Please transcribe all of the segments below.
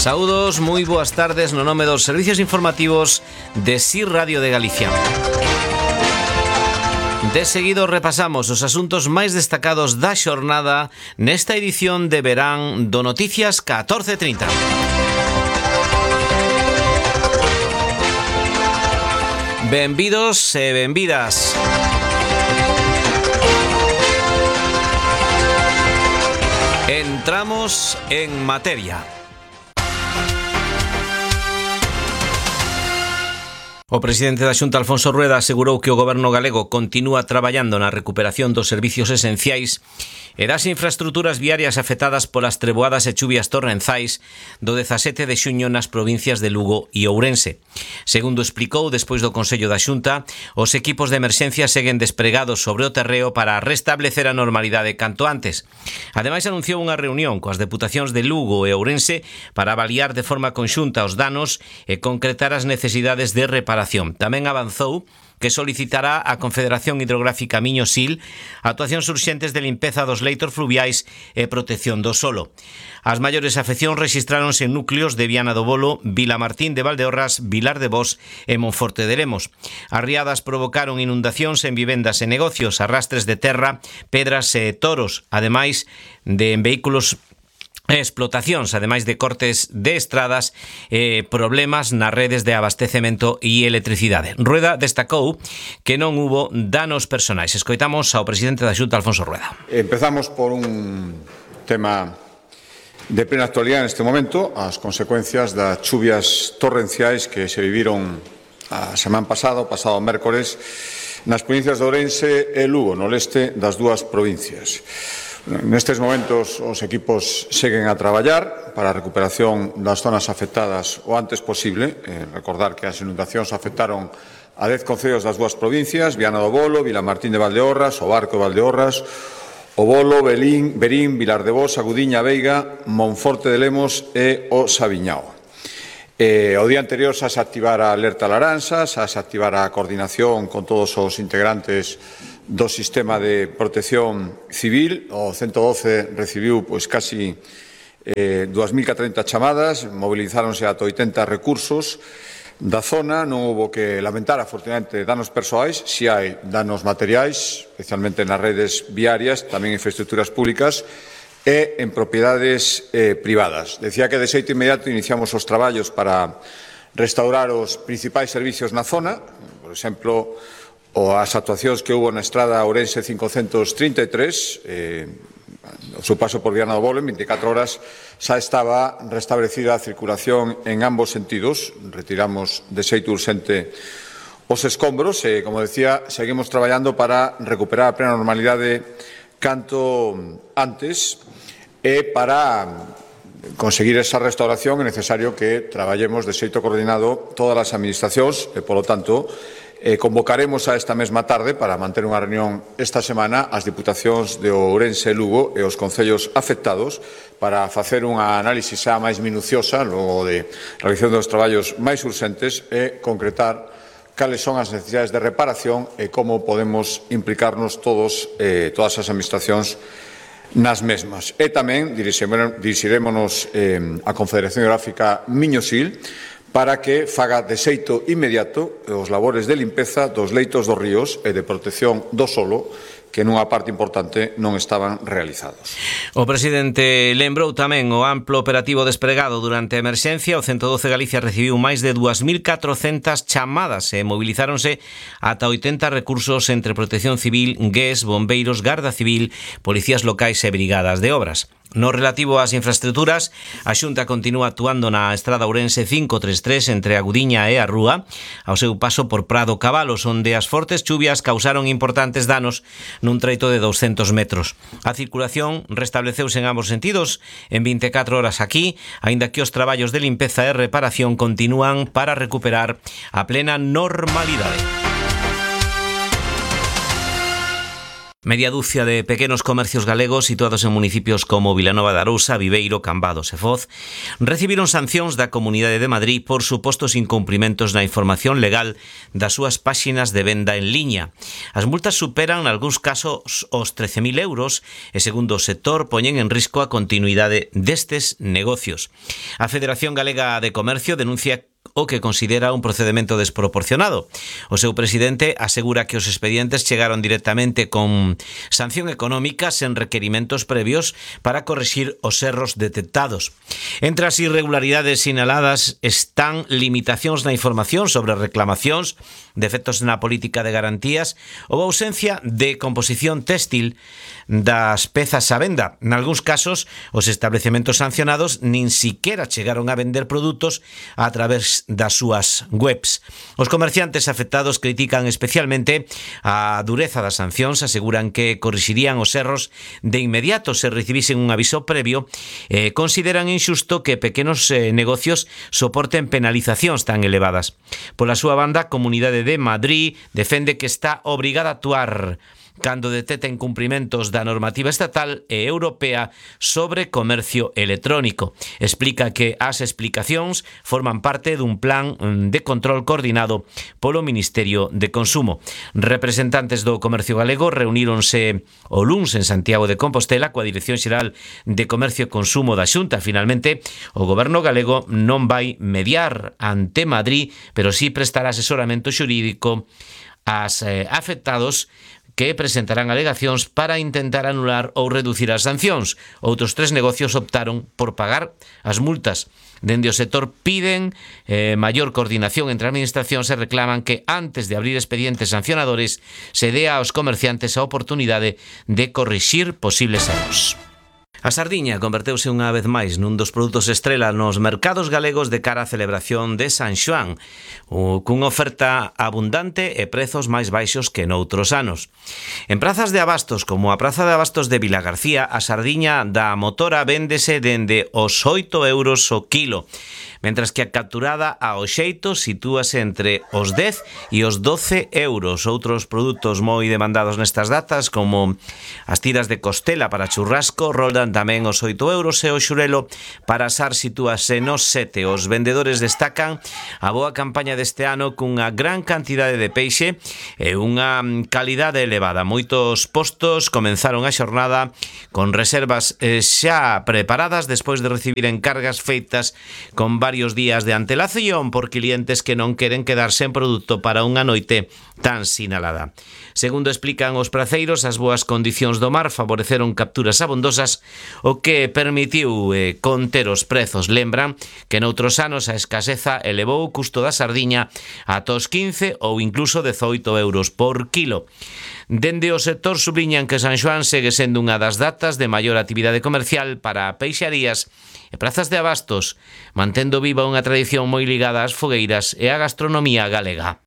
Saúdos, moi boas tardes no nome dos servicios informativos de SIR Radio de Galicia. De seguido repasamos os asuntos máis destacados da xornada nesta edición de verán do Noticias 14:30. Benvidos e benvidas. Entramos en materia. O presidente da Xunta, Alfonso Rueda, asegurou que o goberno galego continúa traballando na recuperación dos servicios esenciais e das infraestruturas viarias afectadas polas treboadas e chuvias torrenzais do 17 de xuño nas provincias de Lugo e Ourense. Segundo explicou, despois do Consello da Xunta, os equipos de emerxencia seguen despregados sobre o terreo para restablecer a normalidade canto antes. Ademais, anunciou unha reunión coas deputacións de Lugo e Ourense para avaliar de forma conxunta os danos e concretar as necesidades de reparación. Tamén avanzou que solicitará á Confederación Hidrográfica Miño-Sil actuacións urxentes de limpeza dos leitos fluviais e protección do solo. As maiores afeccións rexistráronse en núcleos de Viana do Bolo, Vilamartín de Valdeorras, Vilar de Bos e Monforte de Lemos. As riadas provocaron inundacións en vivendas e negocios, arrastres de terra, pedras e toros, ademais de en vehículos explotacións, ademais de cortes de estradas e problemas nas redes de abastecemento e electricidade. Rueda destacou que non hubo danos personais. Escoitamos ao presidente da Xunta, Alfonso Rueda. Empezamos por un tema de plena actualidade neste momento, as consecuencias das chuvias torrenciais que se viviron a semana pasada, o pasado mércores, nas provincias de Ourense e Lugo, no leste das dúas provincias. Nestes momentos os equipos seguen a traballar para a recuperación das zonas afectadas o antes posible. Recordar que as inundacións afectaron a 10 concellos das dúas provincias, Viana do Bolo, Vilamartín de Valdeorras, o Barco de Valdeorras, o Bolo, Berín, Vilar de Bos, a Gudiña, Veiga, Monforte de Lemos e o Sabiñao. O día anterior xa se activara a alerta laranxa, xa se activara a coordinación con todos os integrantes do sistema de protección civil. O 112 recibiu casi 2.030 chamadas, movilizáronse ata 80 recursos da zona. Non houbo que lamentar, afortunadamente, danos persoais, si hai danos materiais, especialmente nas redes viarias, tamén en infraestructuras públicas e en propiedades privadas. Decía que de xeito inmediato iniciamos os traballos para restaurar os principais servicios na zona, por exemplo, as actuacións que houve na estrada Ourense 533, o seu paso por Viana do Bolo, en 24 horas xa estaba restablecida a circulación en ambos sentidos. Retiramos de xeito urxente os escombros e, como decía, seguimos traballando para recuperar a plena normalidade canto antes e para conseguir esa restauración é necesario que traballemos de xeito coordinado todas as administracións e, polo tanto, convocaremos a esta mesma tarde para manter unha reunión esta semana as diputacións de Ourense e Lugo e os concellos afectados para facer unha análise xa máis minuciosa logo de realización dos traballos máis urxentes e concretar cales son as necesidades de reparación e como podemos implicarnos todas as administracións nas mesmas. E tamén dirixirémonos á Confederación Hidrográfica Miño-Sil para que faga de xeito inmediato os labores de limpeza dos leitos dos ríos e de protección do solo que nunha parte importante non estaban realizados. O presidente lembrou tamén o amplo operativo despregado durante a emerxencia. O 112 Galicia recibiu máis de 2.400 chamadas e movilizáronse ata 80 recursos entre protección civil, GES, bombeiros, garda civil, policías locais e brigadas de obras. No relativo ás infraestructuras, a Xunta continúa actuando na estrada Ourense 533 entre a Gudiña e a Rúa, ao seu paso por Prado Cabalos, onde as fortes chuvias causaron importantes danos nun treito de 200 metros. A circulación restableceuse en ambos sentidos en 24 horas aquí, aínda que os traballos de limpeza e reparación continúan para recuperar a plena normalidade. Media dúcia de pequenos comercios galegos situados en municipios como Vilanova de Arousa, Viveiro, Cambados e Foz recibiron sancións da Comunidade de Madrid por supostos incumprimentos na información legal das súas páxinas de venda en liña. As multas superan, nalgúns casos, os 13.000 euros e, segundo o sector, poñen en risco a continuidade destes negocios. A Federación Galega de Comercio denuncia o que considera un procedemento desproporcionado. O seu presidente asegura que os expedientes chegaron directamente con sanción económica sen requerimentos previos para corrixir os erros detectados. Entre as irregularidades sinaladas están limitacións na información sobre reclamacións, defectos na política de garantías ou ausencia de composición téxtil das pezas á venda. Nalgúns casos, os establecementos sancionados nin siquiera chegaron a vender produtos a través das súas webs. Os comerciantes afectados critican especialmente a dureza das sancións, aseguran que corrixirían os erros de inmediato se recibisen un aviso previo e consideran injusto que pequenos negocios soporten penalizacións tan elevadas. Pola súa banda, a Comunidade de Madrid defende que está obrigada a actuar cando detecta incumprimentos da normativa estatal e europea sobre comercio electrónico. Explica que as explicacións forman parte dun plan de control coordinado polo Ministerio de Consumo. Representantes do comercio galego reuníronse o luns en Santiago de Compostela coa Dirección Xeral de Comercio e Consumo da Xunta. Finalmente, o goberno galego non vai mediar ante Madrid, pero sí prestará asesoramento xurídico aos afectados que presentarán alegacións para intentar anular ou reducir as sancións. Outros 3 negocios optaron por pagar as multas. Dende o sector piden maior coordinación entre administracións e reclaman que antes de abrir expedientes sancionadores se dé aos comerciantes a oportunidade de corrixir posibles erros. A sardiña converteuse unha vez máis nun dos produtos estrela nos mercados galegos de cara á celebración de San Xoán, cunha oferta abundante e prezos máis baixos que noutros anos. En prazas de abastos como a Praza de Abastos de Vilagarcía, a sardiña da motora véndese dende os 8 euros o quilo, mentras que a capturada ao xeito sitúase entre os 10 e os 12 euros. Outros produtos moi demandados nestas datas, como as tiras de costela para churrasco, roldan tamén os 8 euros e o xurelo para asar sitúase nos 7. Os vendedores destacan a boa campaña deste ano cunha gran cantidade de peixe e unha calidade elevada. Moitos postos comenzaron a xornada con reservas xa preparadas despois de recibir encargas feitas con varios días de antelación por clientes que non queren quedar sen produto para unha noite tan sinalada. Segundo explican os praceiros, as boas condicións do mar favoreceron capturas abondosas, o que permitiu conter os prezos. Lembran que noutros anos a escaseza elevou o custo da sardiña ata os 15 ou incluso 18 euros por quilo. Dende o sector subliñan que San Xoán segue sendo unha das datas de maior actividade comercial para peixarías e prazas de abastos, mantendo viva unha tradición moi ligada ás fogueiras e á gastronomía galega.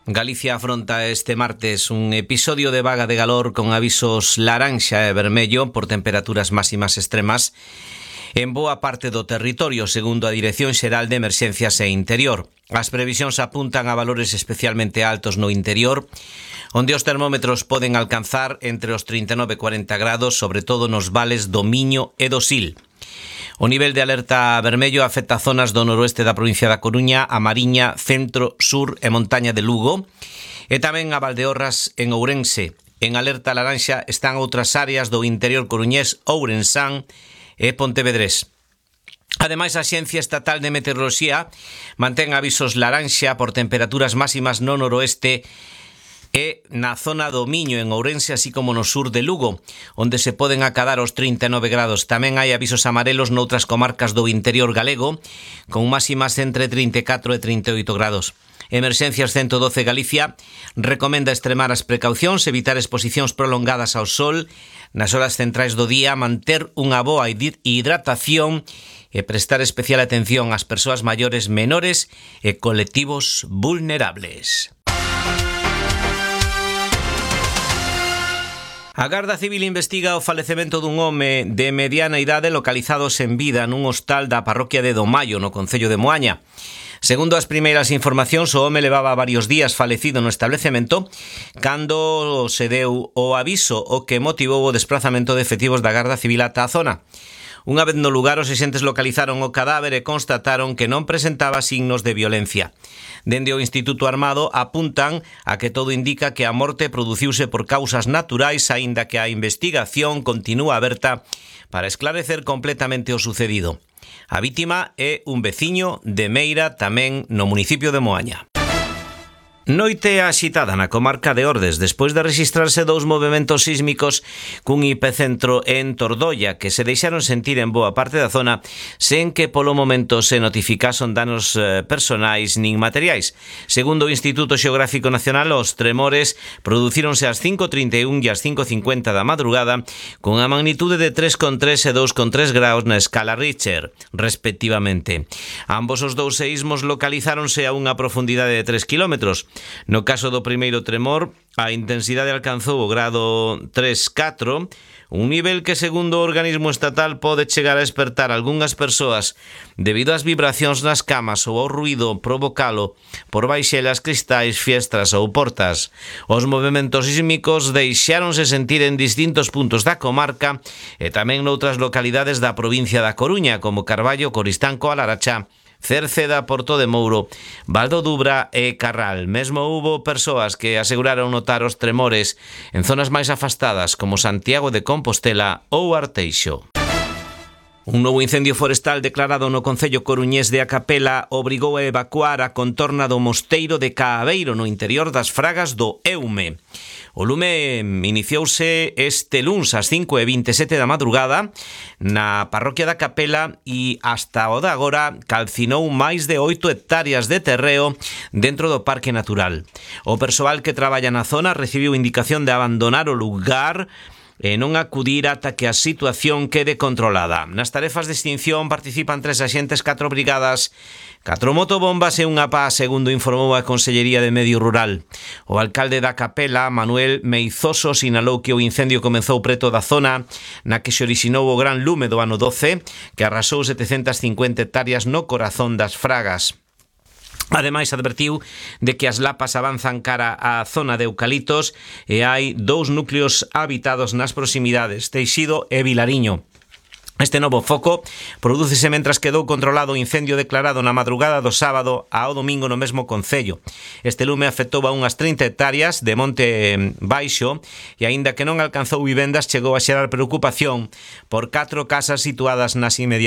Galicia afronta este martes un episodio de vaga de calor con avisos laranxa e vermello por temperaturas máximas extremas en boa parte do territorio, segundo a Dirección Xeral de Emerxencias e Interior. As previsións apuntan a valores especialmente altos no interior, onde os termómetros poden alcanzar entre os 39 e 40 grados, sobre todo nos vales do Miño e do Sil. O nivel de alerta vermello afecta zonas do noroeste da provincia da Coruña, a Mariña, centro, sur e montaña de Lugo, e tamén a Valdeorras en Ourense. En alerta laranxa están outras áreas do interior coruñés, Ourensán e Pontevedrés. Ademais, a Axencia Estatal de Meteoroloxía mantén avisos laranxa por temperaturas máximas no noroeste e na zona do Miño, en Ourense, así como no sur de Lugo, onde se poden acadar os 39 grados. Tamén hai avisos amarelos noutras comarcas do interior galego, con máximas entre 34 e 38 grados. Emerxencias 112 Galicia recomenda extremar as precaucións, evitar exposicións prolongadas ao sol nas horas centrais do día, manter unha boa hidratación e prestar especial atención ás persoas maiores, menores e colectivos vulnerables. A Garda Civil investiga o falecemento dun home de mediana idade localizado sen vida nun hostal da parroquia de Domaio, no concello de Moaña. Segundo as primeiras informacións, o home levaba varios días falecido no establecemento cando se deu o aviso, o que motivou o desprazamento de efectivos da Garda Civil ata a zona. Unha vez no lugar, os axentes localizaron o cadáver e constataron que non presentaba signos de violencia. Dende o Instituto Armado apuntan a que todo indica que a morte produciuse por causas naturais, aínda que a investigación continúa aberta para esclarecer completamente o sucedido. A vítima é un veciño de Meira, tamén no municipio de Moaña. Noite axitada na comarca de Ordes despois de rexistrarse 2 movementos sísmicos cun epicentro en Tordoia que se deixaron sentir en boa parte da zona sen que polo momento se notificason danos personais nin materiais. Segundo o Instituto Xeográfico Nacional, os tremores producíronse ás 5:31 e ás 5:50 da madrugada con a magnitude de 3,3 e 2,3 graus na escala Richter, respectivamente. Ambos os dous seísmos localizáronse a unha profundidade de 3 kilómetros. No caso do primeiro tremor, a intensidade alcanzou o grado 3,4, un nivel que, segundo o organismo estatal, pode chegar a espertar algunhas persoas debido ás vibracións nas camas ou ao ruído provocalo por baixelas, cristais, fiestras ou portas. Os movementos sísmicos deixáronse sentir en distintos puntos da comarca e tamén noutras localidades da provincia da Coruña, como Carballo, Coristanco, Alarachá, Cerceda, Porto de Mouro, Valdo Dubra e Carral. Mesmo houbo persoas que aseguraron notar os tremores en zonas máis afastadas como Santiago de Compostela ou Arteixo. Un novo incendio forestal declarado no concello coruñés de A Capela obrigou a evacuar a contorna do mosteiro de Caaveiro no interior das Fragas do Eume. O lume iniciouse este luns ás 5:27 da madrugada na parroquia da Capela e hasta o de agora calcinou máis de 8 hectáreas de terreo dentro do Parque Natural. O persoal que traballa na zona recibiu indicación de abandonar o lugar e non acudir ata que a situación quede controlada. Nas tarefas de extinción participan 3 axentes, 4 brigadas, 4 motobombas e unha pá, segundo informou a Consellería de Medio Rural. O alcalde da Capela, Manuel Meizoso, sinalou que o incendio comezou preto da zona na que se orixinou o gran lume do ano 12, que arrasou 750 hectáreas no corazón das Fragas. Ademais, advertiu de que as lapas avanzan cara á zona de eucaliptos e hai 2 núcleos habitados nas proximidades, Teixido e Vilariño. Este novo foco prodúcese mentras quedou controlado o incendio declarado na madrugada do sábado ao domingo no mesmo concello. Este lume afectou a unhas 30 hectáreas de monte baixo e, aínda que non alcanzou vivendas, chegou a xerar preocupación por 4 casas situadas nas inmediaciones